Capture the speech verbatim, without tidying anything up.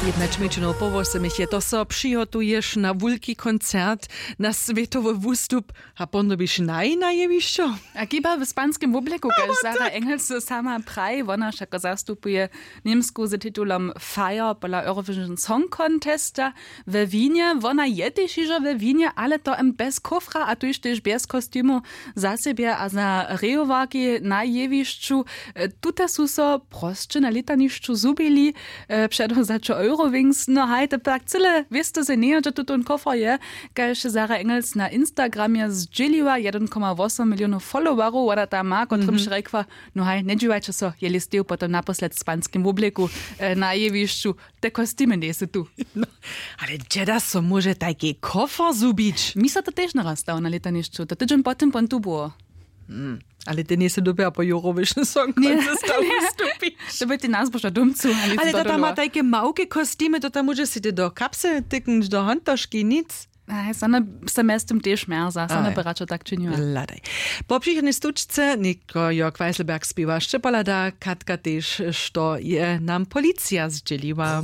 Jednać mjeńšinow po wosomich je to so přihotuješ na wulki koncert, na swětowy wustup a ponobiš naj na jewišćo. A kiba w spanskim wobleku, kaž sara engels sama praji, wona wšako zastupuje němsku z titulom fire pola eurovision song contesta we winje. Wona je tež hižo we winje, ale to em bez kofra a tuž tež bez kostimu za sebje a za rejowarki na jewišću. Tute su so prosće na lětanišću zhubili. Před zaćo eurowings no haj to pak cyle wěsto se njejo dźe tutón kofer je, kaž sara engels na instagramje zdźěliła jedyn koma wosom milionow followerow wona tam ma kotrymž rjekła, no haj njedźiwajće so jeli steju potom naposled w spanskim wobleku na jewišću. Te kostimy njejsu tu. Ale dźeda so móže tajki kofer zhubić? Mi so to tež naraz stało na lětanišću to tydźeń po tym pon tu było. Ale ty njejsu dobja po jurowyšny song. To by ty nazboža domcu. Ale to tam ma tajke małke kostimy to tam móže si ty do kapsy tyknąć do hontoški nic. Same se mjez tym tež mjerza same by radšo tak činiła. Hladaj. Po přichodnej stučce něko jo kwajsleberg spiwa sće pohlada katka tež što je nam policija zdźěliła.